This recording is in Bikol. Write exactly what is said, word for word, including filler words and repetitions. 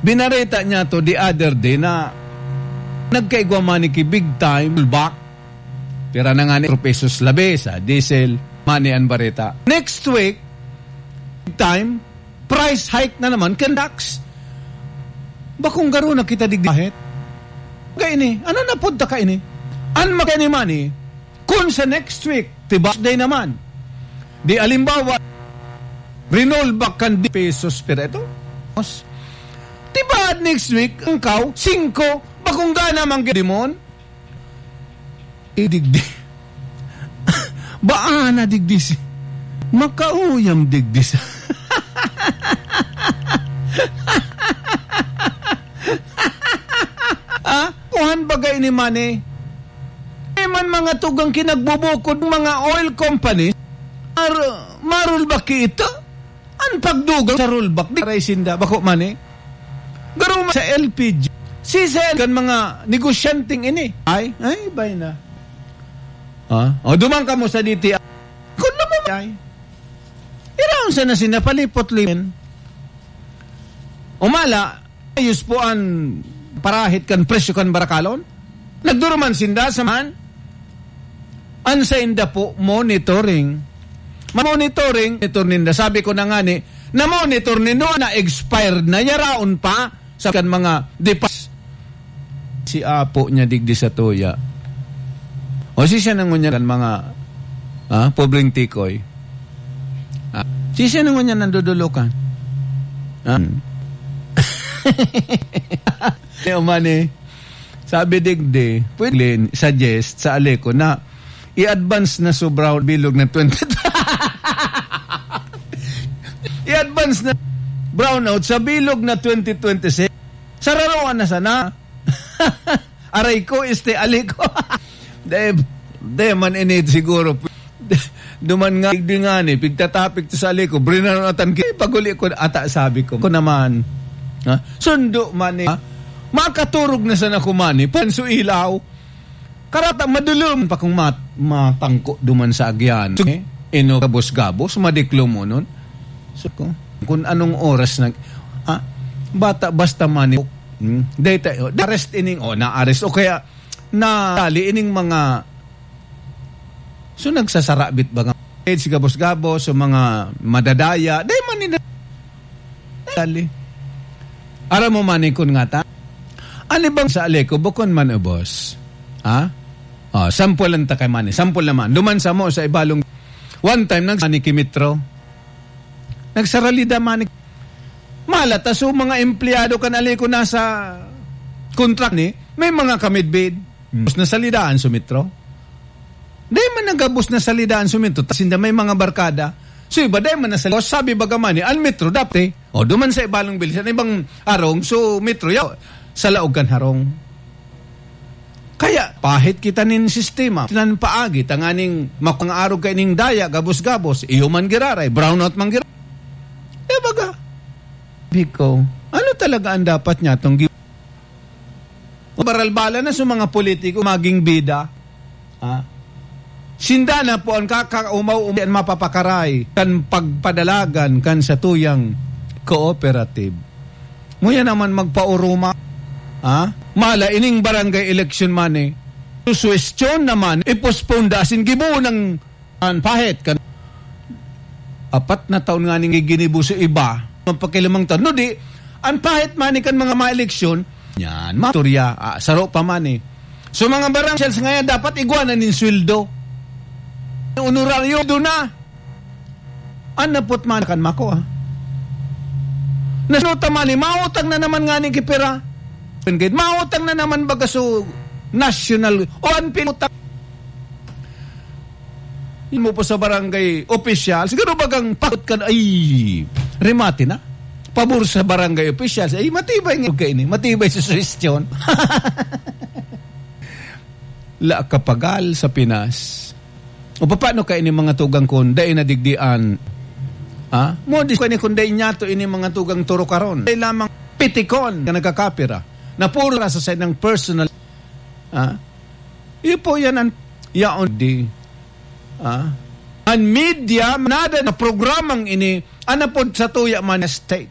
binareta niya to the other day na nagkaigwa man ki big time, rollback. Pira na nga ni pesos labi sa diesel, money an bareta. Next week, big time, price hike na naman kan tax. Bakong garo na kita digdi kahit. Kaini, ano na punta kaini? An makaini money, kun sa next week, tibas day naman. Di alimbawa, rinol back kan di pesos per ito. Tibaad next week, ang kaw, singko, bakong gana mang dimon. Idigdi. Baa na digdi si, makauyam digdi sa. Ah, kuhan bagay ni money. May man mga tugang kinagbubukod, mga oil company, mar-, marol ba kita? An pagdugang sa rollback, di aray sinda, bako man eh. Garo man sa L P G. Sisay kan mga negosyanteng ini. Ay, ay, bay na. Ah, o, duman kamo sa D T I. Kun naman ay. Iraon sa na sinapalipot limen. Umala, ayos po an parahit kan presyo kan barakalon. Nagduruman sinda sa man. An sainda po, monitoring. Monitoring, monitor ninda. Sabi ko na nga ni, na-monitor nindo, na-expired na, yaraon pa sa kan mga depas. Si apo niya digdi sa tuya. O si siya nangunyan kan mga, ah, pobreng tikoy. Ah, si siya nangunyan nandodolokan. Ah. Ni Omani, sabi digdi, pwede suggest sa Aleco na i-advance na so brown bilog na twenty. I-advance na brownout sa bilog na twenty twenty-six. Sararoan na sana. Aray ko, este, Aleco. Dahil, dahil man ini siguro. Duman nga, digdi nga ni, pigtatapik to sa Aleco, brinaratan ki, paguli ko, ata sabi ko, ko naman, ha? Sundo man ni, ha? Makaturog na sana ko man ni, panso ilaw. Karata, madulom pa kung mat-, matangko duman sa agyan. So, eh, ino, gabos-gabos, madiklom mo nun. So, kung, kung anong oras nag-, ah, bata, basta man ni, hmm? Dahil tayo, arrest ining, oh, na-arrest, o kaya, na-, dali ining mga So, nagsasarabit baga si gabos-gabos, so mga madadaya, dai man nila dali. Aram mo man kun ngata? Ano bang sa Aleco, bukon man ubos? Ha? Oh, sample lang ta kay man eh. Sample naman. Duman sa mo sa Ibalong, one time, nag-, ni Kimitro. Nagsaralida man ni, malata, so mga empleyado kan Aleco nasa contract ni, may mga kamidbid. Hmm. Gabos na salidaan so Metro. Dai man na gabos na salidaan so Metro, ta sinda may mga barkada. So iba, dai man na salidaan. Sabi baga man ni, an Metro dapat, eh. O, duman sa Ibalong Bilis, an ibang harong, so Metro, yaw, sa laog kan harong. Kaya, pahit kita nin sistema, nan paagi, tanganing makangaarog kaining daya, gabos-gabos, iyo man giraray, brownout man giraray. Eh, baga. Biko, ano talaga ang dapat niya tong gi-, baralbala na sa mga politiko, maging bida? Ha? Sinda na po ang kakaumaw-umaw, ang mapapakaray kan pagpadalagan kan satuyang cooperative. Muya naman magpauruma, ha? Mala, ining barangay election man eh. Suwestyon naman, i-postpone da, asin gibo ng an pahit kan apat na taon nga ning ginibo sa iba, magpakilamang taon. No, di, an pahit man kan mga maeleksyon, yan, maturya, ah, saro pa man eh. So, mga barangay officials ngayon, dapat igwa na nin sweldo. Honoraryo, doon na. An napot man kan mako, ah. Nasuta man eh, mautang na naman nga ni kipira. Mautang na naman baga so national, o an pinutang. Mo po sa barangay opisyal, siguro bagang pakot ka na, ay, remate na. Pabor sa barangay opisyal, ay, matibay nga kaini, matibay sa suhestyon. La kapagal sa Pinas. O paano kaini mga tugang kon dai nadigdian? Ha? Mo, di ko ini kun dai niya to ini mga tugang turo karon. Dai lamang pitikon ka nagkakapira. Na puro sa sa ng personal. Ha? Iyo po yan ang yaon di. Ah? Ang media, nada na programang ini, anapod sa tuya man state.